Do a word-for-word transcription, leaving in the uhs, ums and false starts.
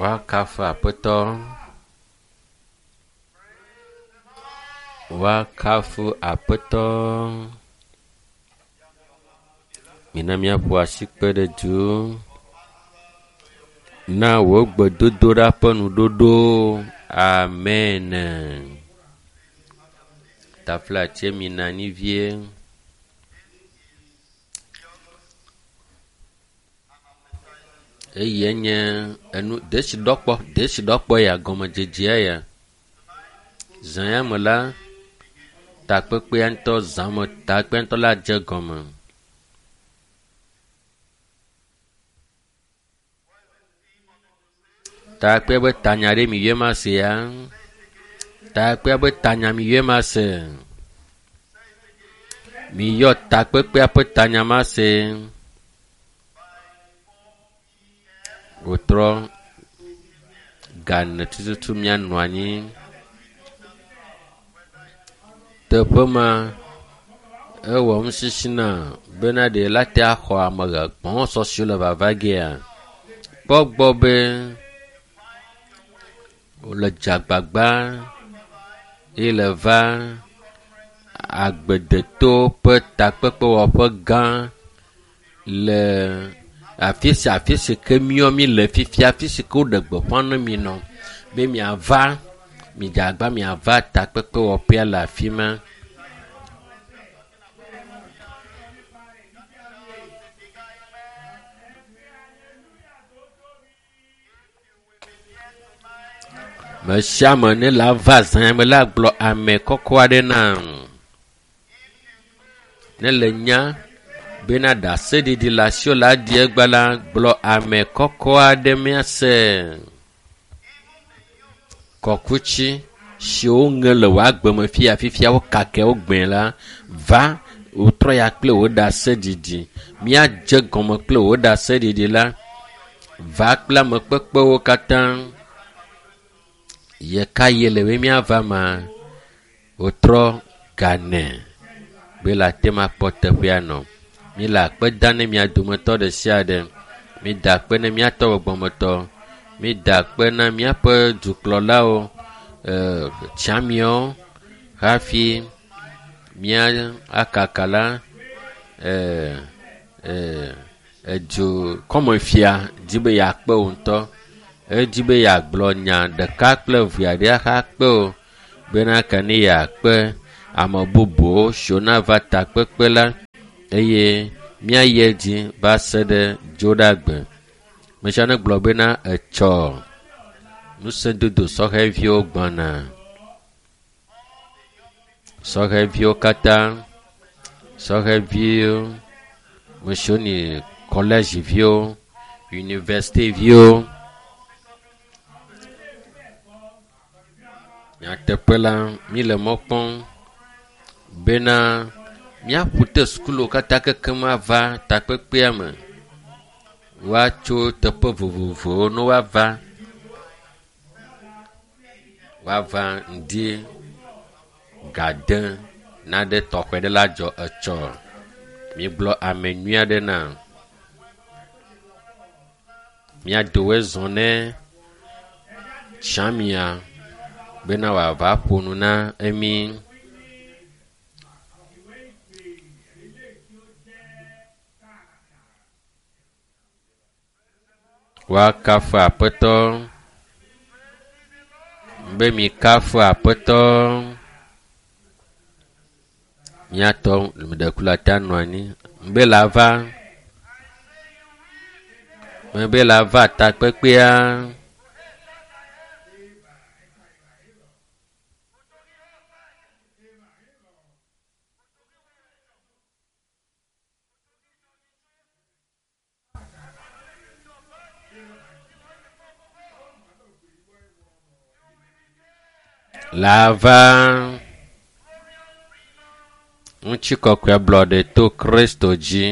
Woakafu Aƒetɔ. Woakafu Aƒetɔ. Mina míaƒo asikpe ɖe du na wò gbedodoɖa ƒe nuɖoɖo. Amen. Taflatse mina anyi vie. Eye nye enu desi ɖɔkpɔ desi ɖɔkpɔ ya gɔmedzedzea ya. Zã ya me la takpekpea ŋutɔ zãme takpekpea ŋutɔ la dze gɔme. Takpekpea be tanya ɖe mi yɔe ma sea. Takpekpea be tanya mi yɔe ma se. Mi yɔ takpekpea ƒe tanya ma se. Wòtrɔ gane tututu míanɔ anyi. Teƒe ma ewɔ nusisi na bena ɖe la te axɔ ame gbɔsɔsɔ le vava gea. Kpɔ gbɔ be wòle dzagbagba eye le va agbedeto ƒe takpekpewɔƒe gã le afi sia afi si ke míɔ mi le fifia afi si ke woɖe gbeƒã na mi nɔ be miava midze agba miava takpekpewɔƒea le afi ma. Me sia ame ne la va zã ya me la gblɔ ame kɔkɔ aɖe nam. Ne le nya bena ɖaseɖiɖi le asiwò le aɖi egbe la gblɔ ame kɔkɔ aɖe míase. Kɔkutsi siwo ŋe le wò agbe me fia fifia wo kakɛ wo gbẽ la va wòtrɔ ya kple wò ɖaseɖiɖi. Míadze gɔme kple wò ɖaseɖiɖi la va kple ame kpekpewo katã. Yeka ye le be míava ma wòtrɔ gane be le ate ma kpɔ teƒea nɔ. Míle akpe dam ne mia dometɔ ɖe sia ɖe. Mída akpe ne míatɔ gbɔgbɔmetɔ. Mída akpe na míaƒe dukplɔlawo, ee, tsiamiawo hafi mía akaka la ee, ee, edzo kɔmefia di be yeakpe wò ŋutɔ. Edi be yeagblɔ nya ɖeka kple eve aɖe axakpe wò bena ke ne yeakpe ame bubuwo siwo nava takpekpe la eye míayi edzi va se ɖe dzoɖagbe. Me sia ne gblɔ bena etsɔ ŋusẽdodo sɔhɛviwo gbɔna. Sɔhɛviwo katã, sɔhɛviwo, me siwo nyi kɔlɛdziviwo, yunivɛsitiviwo. Nyateƒe la, míle mɔ kpɔm bena míaƒu te sukuluwo katã kekem ava takpekpea me. Woatso teƒe vovovowo ne woava woava ŋdi gade naɖe tɔxɛ ɖe la dzɔ etsɔ. Mígblɔ ame nyui aɖe na. Míado woe zɔ ne tsiamia bena wòava ƒo nu na emi. Woakafu Aƒetɔ. Be mikafu Aƒetɔ. Míatɔ ɖekula ta nɔ anyi. Be la va. Be la va takpekpea. La va ŋutikɔkɔe blɔɖe to Kristo dzi.